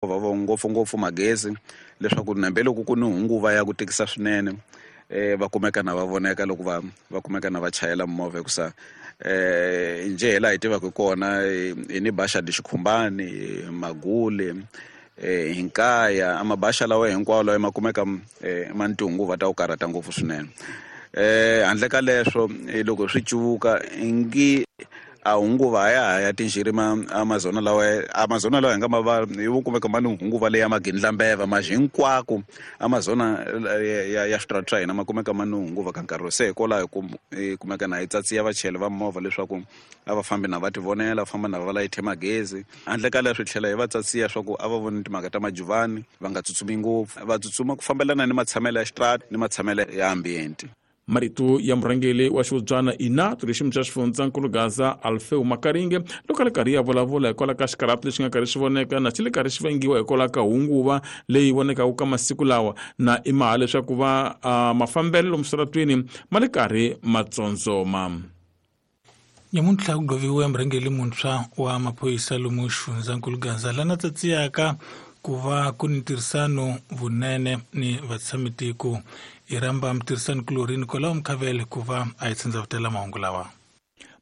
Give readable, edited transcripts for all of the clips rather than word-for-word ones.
Mimovha ngopfungopfu magezi, leswaku nambe loko ku ni hunguva ya ku tikisa swinene, va kumeka na va voneka loko va kumeka na va chayela mimovha, hikusa njhe hi laha hi tivaka kona hi ni Baxa di Xikhumbani, Magule, Hinkaya, amabaxa lawa hinkwawo lawa ma kumeka ma ni tihunguva ta ku karhata ngopfu swinene. Handle ka leswo, loko swi cuvuka ngi a hunguva ya ha ya tinxiri ma Amazona lawa, Amazona lawa hi nga ma va hi vo kumeka ma ni hunguva leyi ya magindlambeva ma hinkwako Amazona ya switarata swa hina ma kumeka ma ni hunguva ka nkarhi. Se hikwalaho hi kumeka na hi tsatsiya vachayeri va movha leswaku a va fambi na va tivonela, va famba na va layithe magezi. Handle ka leswi, tlhela hi va tsatsiya swa ku a va voni timhaka ta majuvani, va nga tsutsumi ngopfu, va tsutsuma ku fambelana ni matshamelo ya xitrata ni matshamelo ya ambiente. Marito ya murhangeri wa xihubyana inato lexi xa xifundzankulu Gaza, Alfeu Makaringe, loko a ri karhi ya vulavula hikwalaho ka xikarhato lexi nga karhi xi voneka na xi le karhi xi vangiwa hikwalaho ka hunguva leyi vonekaka ka masiku lawa, na i maha leswaku va mafambelo lomu switaratwini ma le karhi ma tsondzoma. Nyamuntlha ku gloviwe murhangeri muntshwa wa maphorisa lomu xifundzankulu Gaza, lana tsatsiyaka ku va ku ni ntirhisano vunene ni vatshamitiko. Hi rhamba mutirhisani kulorhi Nicolau Mkhavele ku va a hi tsandzavutela mahungu lawa.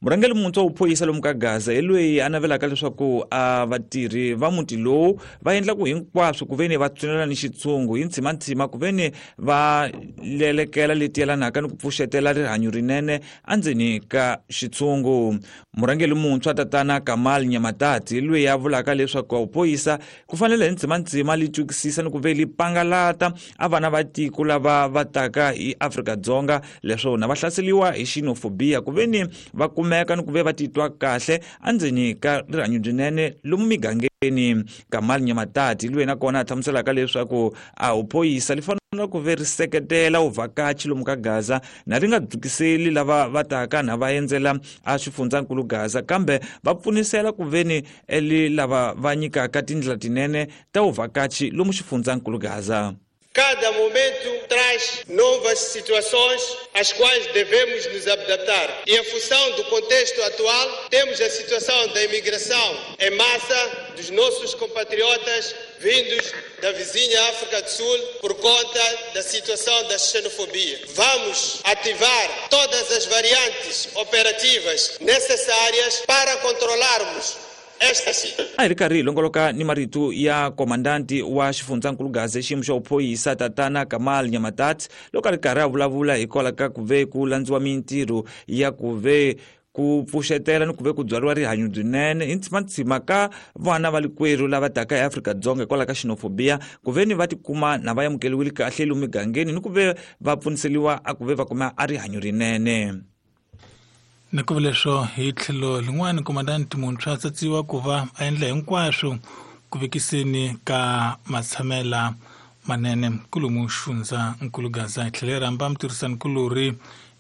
Murhangeri muntshwa wo phorisa lomu ka Gaza hi loyi a navelaka leswaku a vatirhi va muti lowu va endla ku hinkwaswo ku veni va tswinela ni xitshungu hi ntshimantsima, ku veni va lelekela leti yelanaka ni ku pfuxetela rihanyo rinene endzeni ka xitshungu. Murhangeri muntshwa tatana Kamal Nyamatati loyi a vulaka leswaku vuphorisa ku fanele hi ntsimantsima li twisisa ni ku ve li pangalata a vana va tiko lava va taka hi Afrika-Dzonga leswaku na va hlaseriwa hi xenophobia, ku ve ni va kumeka ni ku ve va titwa kahle endzeni ka rihanyo byinene lomu migangeni. Kamal Nyamatati loyi nakona a hlamuselaka leswaku a vuphorisa li fanele ku ve ri seketela vuvhakachi lomu ka Gaza na ri nga dzukiseli lava va taka na va endzela a xifundzankulu Gaza, kambe va pfunisela ku veni eli lava va nyikaka tindlela tinene ta vuvhakachi lomu xifundzankulu Gaza. Cada momento traz novas situações às quais devemos nos adaptar. E em função do contexto atual, temos a situação da imigração em massa dos nossos compatriotas vindos da vizinha África do Sul por conta da situação da xenofobia. Vamos ativar todas as variantes operativas necessárias para controlarmos A hi ri karhi hi longoloka ni marito ya komandanti wa xifundzankulu Gaza xiyimo xa vuphorisa tatana Kamal Nyamatati, loko a ri karhi a vulavula hikwalaho ka ku ve ku landziwa mintirho ya ku ve ku pfuxetela ni ku ve ku byariwa rihanyo byinene hi ntsimantsima ka vana va likwerhu lava taka eAfrika-Dzonga hikwalaho ka xenophobia, ku ve ni va tikuma na va amukeriwile kahle lomu migangeni ni ku ve va pfuniseliwa a ku ve va kuma a rihanyo rinene. Ni ku leswo hi tlhelo lin'wana, komandanti muntshwa tsatsiwa ku va a endla hinkwaswo ku vekiseni ka matshamela manene kulumu xifundza nkulu Gaza. Hi tlhela hi rhamba mutirhisani kulorhi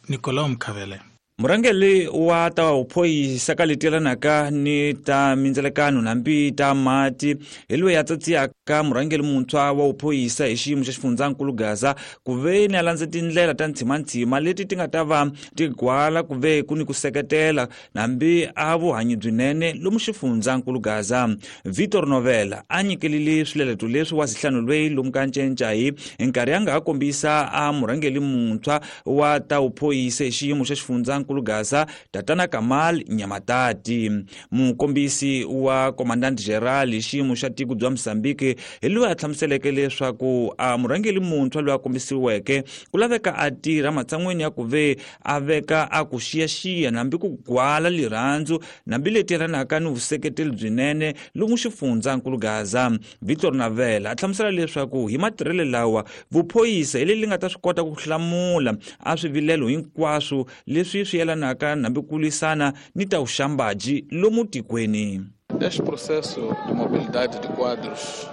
Nicolau Mkhavele. Murhangeri wa ta vuphorisa ka leti yelanaka ni ta mindzelekano hambi ta mati hi loyi a tsatsiyaka murhangeri muntshwa wa vuphorisa hi xiyimo xa xifundzankulu Gaza ku ve ni a landza tindlela ta ntsimantsima leti ti nga ta va ti gwala ku ve ku ni ku seketela hambi a vuhanyi byinene lomu xifundzankulu Gaza. Victor Novela a nyikelile swileleto leswi wa zihlanu lweyi lomu ka Ncencai hi nkarhi a nga ha kombisa a murhangeri muntshwa wa ta vuphorisa hi xiyimo xa xifundzankulu Gaza tatana Kamal Nyamatati. Mukombisi wa Commandant General hi xiyimo xa tiko bya Mozambique hi loyi a hlamuseleke leswaku a murhangeri muntshwa loyi a kombisiweke ku laveka a tirha matshan'weni ya ku ve a veka a ku xiyaxiya hambi ku gwala lirhandzu hambi leti yelanaka ni vuseketeli byinene lomu xifundzankulu Gaza. Victor Navela a hlamusela leswaku hi matirhelo lawa vuphorisa hi leri nga ta swi kota ku hlamula a swivilelo hinkwaswo leswi swi yelanaka hambi ku lwisana ni ta vuxambaji lomu tikweni. Este processo de mobilidade de quadros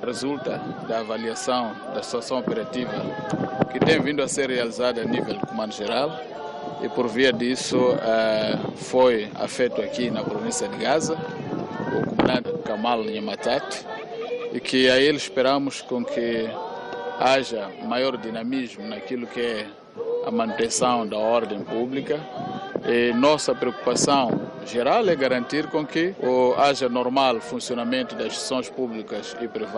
resulta da avaliação da situação operativa que tem vindo a ser realizada a nível do Comando Geral e, por via disso, foi afeto aqui na província de Gaza o comandante Kamal Nyamatati, e que a ele esperamos com que haja maior dinamismo naquilo que é a manutenção da ordem pública. E nossa preocupação geral é garantir com que haja normal funcionamento das instituições públicas e privadas.